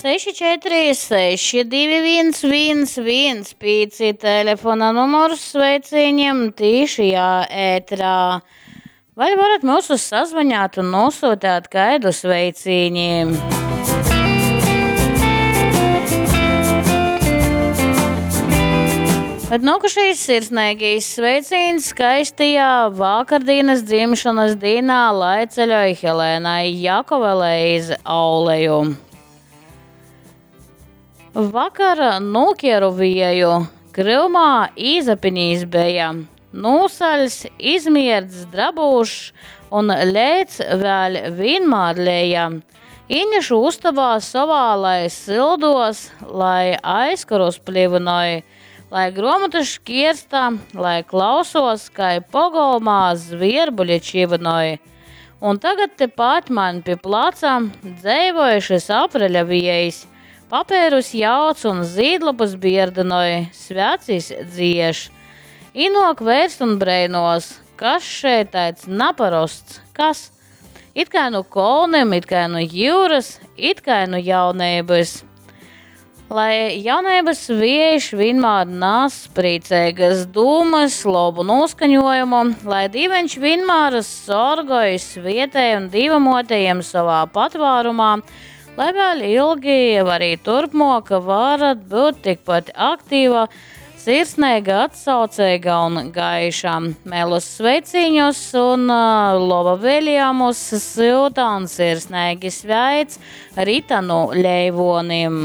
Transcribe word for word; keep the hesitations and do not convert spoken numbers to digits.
seši četri seši divi viens viens viens pīci telefona numurs sveicīņiem tīšajā ētrā. Vai varat mūsus sazvanāt un nosūtīt kaidu sveicīņi? Bet nākušais sirsnīgais sveiciens skaistajā vakardienas dzimšanas dienā, lai ceļoja Helēnai Jakovelei iz Auleju. Vakar nokieru vieju, kryumā īzapinīs beja. Nūsaļs, izmierdz drabūšs un lēc vēl vienmēr leja. Īnešu ustabā savā, lai sildos, lai aizkarus plivinoj, lai gruomotas škiersta, lai klausos, kai pogolmā zvierbuļi čivinoj. Un tagad tepat man pie placa dzeivoja šis apreļa viejs. Papērus jauc un zīdlapas bierdinoj, svecis dzieš. Inok vērst un breinos, kas šeit tāds naparosts, kas? It kā nu kolnim, it kā nu jūras, it kā nu jaunības. Lai jaunības viejš vienmēr nes priecīgas dūmas, labu noskaņojumu, lai dīveņš vienmēr sorgoj svietēj un dīvamotējiem savā patvārumā, lai vēl ilgi, arī turpmāk varat būt tikpat aktīva, sirsnīga, atsaucīga un gaiša. Mēlus sveiciņus un, ā, lova vēlējumus silta un sirsnīgi sveic Ritanu Leivonim.